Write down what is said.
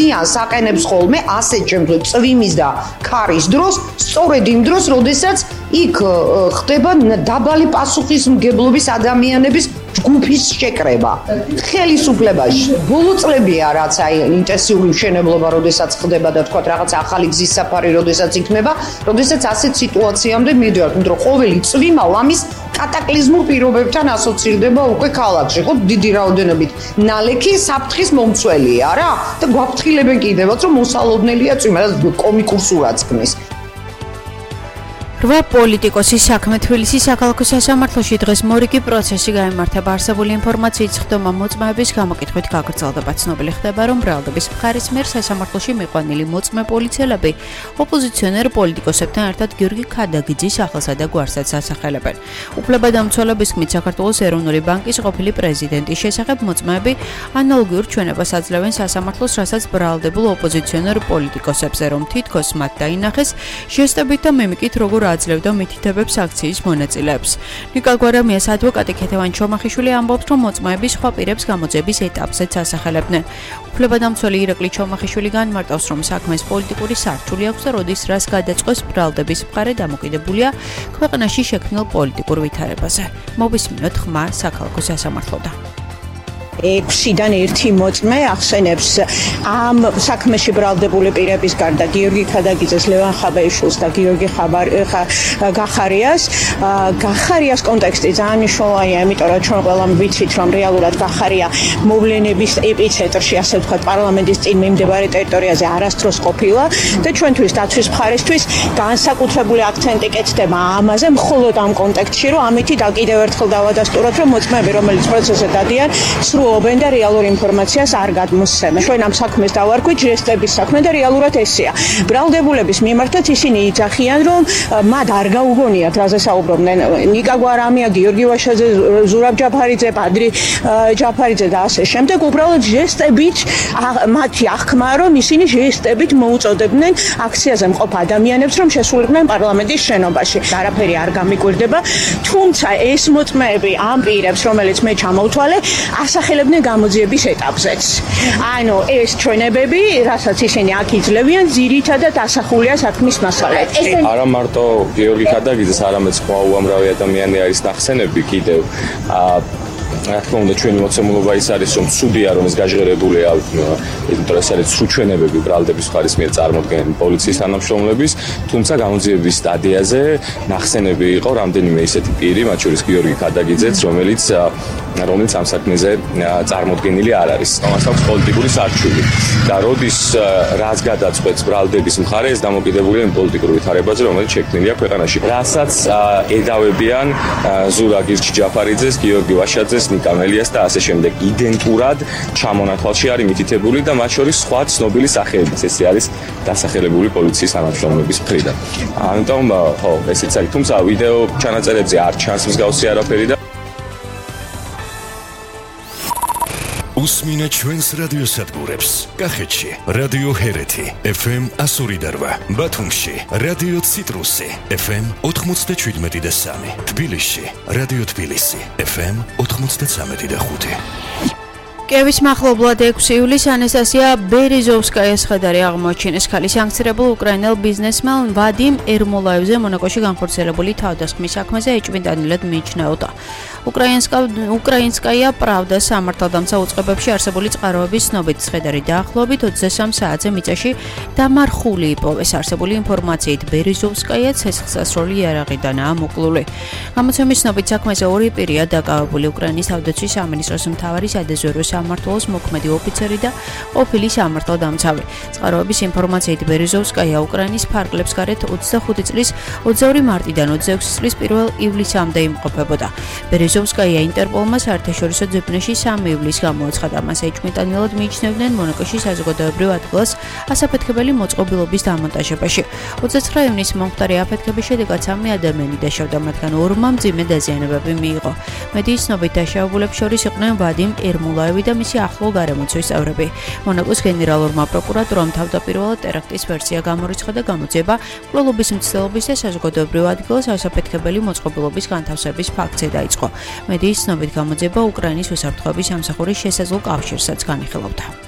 ზიანს აყენებს ხოლმე ასეთ შემთხვევაში წვიმის და ქარის დროს, სწორედ იმ დროს, როდესაც იქ ხდება დაბალი პასუხისმგებლობის ადამიანების ჯგუფის შეკრება. ხელისუფლებაში ბოლო წლებია რაც აი ინტენსიური მშენებლობა, როდესაც ხდება და თქვა რაღაც ახალი გზის საფარი, როდესაც იქნება, როდესაც ასეთ სიტუაციამდე მივიდივართ, იმიტომ რომ ყოველი წვიმა ლამის კატაკლიზმურ პირობებთან ასოცირდება უკვე ქალაქში, ხო, დიდი რაოდენობით ნალექი საფრთხის მომცველია რა და გვაფრთხილებენ კიდევაც რომ მოსალოდნელია წვიმა და კომიკურ სურათს ქმნის. რვა პოლიტიკოსის საქმე თბილისის საქალაქო სასამართლოში დღეს მორიგი პროცესი გაიმართება. არსებული ინფორმაციით ხდომა მოწმეების გამოკითხვით გაგრძელდება. ცნობილი ხდება, რომ ბრალდების მხარის მიერ სასამართლოში მიყვანილი მოწმე პოლიციელები ოპოზიციონერ პოლიტიკოსებთან ერთად გიორგი ქადაგიძის სახელსა და გვარსაც ასახელებენ. უფლებადამცველების თქმით, საქართველოს ეროვნული ბანკის ყოფილი პრეზიდენტის შესახებ მოწმეები ანალოგიურ ჩვენებას აძლევენ სასამართლოს, რასაც ბრალდებულ ოპოზიციონერ პოლიტიკოსებზე, რომ თითქოს მათ დაინახეს ჟესტებით და მიმიკით, როგორ აძლევდა მითითებებს აქციის მონაწილეებს. ნიკა გვარამიას ადვოკატი ქეთევან ჩომახიშვილი ამბობს, რომ მოწმეები სხვა პირებს გამოძიების ეტაპზეც ასახელებდნენ. უფლებადამცველი ირაკლი ჩომახიშვილი განმარტავს, რომ საქმეს პოლიტიკური სარჩული აქვს და როდის რას გადაწყვეტს ბრალდების მხარე დამოკიდებულია ქვეყანაში შექმნილ პოლიტიკურ ვითარებაზე. მოვისმინოთ ხმა საქალაქო სასამართლოდან. 6-დან 1 მოწმე ახსენებს ამ საქმეში ბრალდებული პირების გარდა გიორგი ქადაგიძეს, ლევან ხაბაიშვილს და გიორგი გახარიას კონტექსტი ძალიან მნიშვნელოვანია, იმიტომ რომ ჩვენ ყველამ ვიცით, რომ რეალურად გახარია მოვლენების ეპიცენტრში, ასე ვთქვათ, პარლამენტის წინ მიმდებარე ტერიტორიაზე არასდროს ყოფილა და ჩვენთვის დაცვის მხარისთვის განსაკუთრებული აქცენტი კეთდება ამაზე, მხოლოდ ამ კონტექსტში, რომ ამითი კიდევ ერთხელ დავადასტუროთ, რომ მოწმეები, რომელიც პროცესზე დადიან, სრულობენ და რეალურ ინფორმაციას არ გადმოსცემენ. ჩვენ ამ საქმეს დავარქვით ჟესტების საქმე და რეალურად ესეა. ბრალდებულების მიმართაც ისინი იძახიან, რომ მათ არ გაუგონიათ, რაზე საუბრობდნენ ნიკა გვარამია, გიორგი ვაშაძე, ზურაბ ჯაფარიძე, პადრი ჯაფარიძე და ასე შემდეგ. უბრალოდ ჟესტებით მათი აღქმა, რომ ისინი ჟესტებით მოუწოდებდნენ აქციაზე მყოფ ადამიანებს, რომ შესულიყვნენ პარლამენტის შენობაში. არაფერი არ გამიკვირდება, თუმცა ეს მოწმეები ამ პირებს, რომელიც მე ჩამოვთვალე, ასახელებდნენ გამოძიების ეტაპზეც. ანუ ეს ჩვენებები, რასაც ისინი აქ იძლევიან, ძირითადად ასახულია საქმის მასალებში. არა მარტო გიორგი ქადაგიძეს, არამედ სხვა უამრავი ადამიანი არის ნახსენები კიდევ. რა თქმა უნდა, ჩვენი მოცემულობა ის არის, რომ ცუდია, რომ ეს გაჟღერებულია, იმიტომ რომ ეს არის სრულჩვენებები ბრალდების მხარის მიერ წარმოქმნილი პოლიციის თანამშრომლების, თუმცა გამოძიების სტადიაზე ნახსენები იყო რამდენიმე ისეთი პირი, მათ შორის გიორგი ქადაგიძეც, რომელიც ამ საქმეზე წარმოქმნილი არ არის. მას აქვს პოლიტიკური სარჩული და როდის რას გადაწყვეტს ბრალდების მხარე, ეს დამოკიდებულია იმ პოლიტიკურ ვითარებაზე, რომელიც შექმნილია ქვეყანაში. რასაც ედავებიან ზურაბ ჯაფარიძეს, გიორგი ვაშაძეს, ნიკა მელიას და ასე შემდეგ. იდენტურად ჩამონათვალში არის მითითებული და მათ შორის სხვა ცნობილი სახეებიც. ეს არის დასახელებული პოლიციის თანამშრომლების მხრიდან. ამიტომ ხო, ესეც არის. თუმცა ვიდეო ჩანაწერებზე არ ჩანს მსგავსი არაფერი და უსმინე ჩვენს რადიოსადგურებს. კახეთში რადიო ჰერეთი FM 102.8, ბათუმში რადიო ციტრუსი FM 97.3, თბილისში რადიო თბილისი FM 93.5. კიევის მახლობლად 6 ივლისს ანასტასია ბერეზოვსკაიას ხედარი აღმოაჩინეს. ქალი სანქცირებულ უკრაინელ ბიზნესმენ ვადიმ ერმოლაევზე მონაკოში განხორციელებული თავდასხმის საქმეზე ეჭვმიტანილად მიიჩნეოდა. უკრაინსკაია პრავდა სამართალდამცა უწყებებში არსებული წყაროების ცნობით ცხედარი დაახლოებით 23 საათზე მიწაში დამარხული იპოვეს. არსებული ინფორმაციით ბერეზოვსკაია ცეცხლსასროლი იარაღიდანაა მოკლული. გამოცემის ცნობით საქმეზე ორი პირია დაკავებული: უკრაინის თავდაცვის სამინისტროს მთავარი სადაზვერვო სამმართველოს მოქმედი ოფიცერი და ყოფილი სამართალდამცავი. წყაროების ინფორმაციით ბერეზოვსკაია უკრაინის ფარგლებს გარეთ 25 წლის 22 მარტიდან 26 წლის 1 ივლისამდე იმყოფებოდა. ბერეზოვსკაია ინტერპოლმა საერთაშორისო ძებნაში 3 ივლისს გამოაცხადა. მას ეჭვმიტანილად მიიჩნევდნენ მონაკოში საზოგადოებრივ ადგილას ასაფეთქებელი მოწყობილობის დამონტაჟებაში. 29 ივნისს მომხდარი აფეთქების შედეგად 3 ადამიანი დაშავდა, მათგან 2-მა მძიმე დაზიანებები მიიღო. მედიის ცნობით დაშავებულებს შორის იყვნენ ვადიმ ერმოლაევი და მისი ახლო გარემოცვის წევრები. მონაკოს გენერალურმა პროკურატურამ თავდაპირველად ტერაქტის ვერსია გამორიცხა და გამოძიება მკვლელობის მცდელობის და საზოგადოებრივ ადგილას ასაფეთქებელი მოწყობილობის განთავსების ფაქტზე დაიწყო. მედიის ცნობით გამოძიება უკრაინის უსაფრთხოების სამსახურის შესაძლო კავშირსაც განიხილავდა.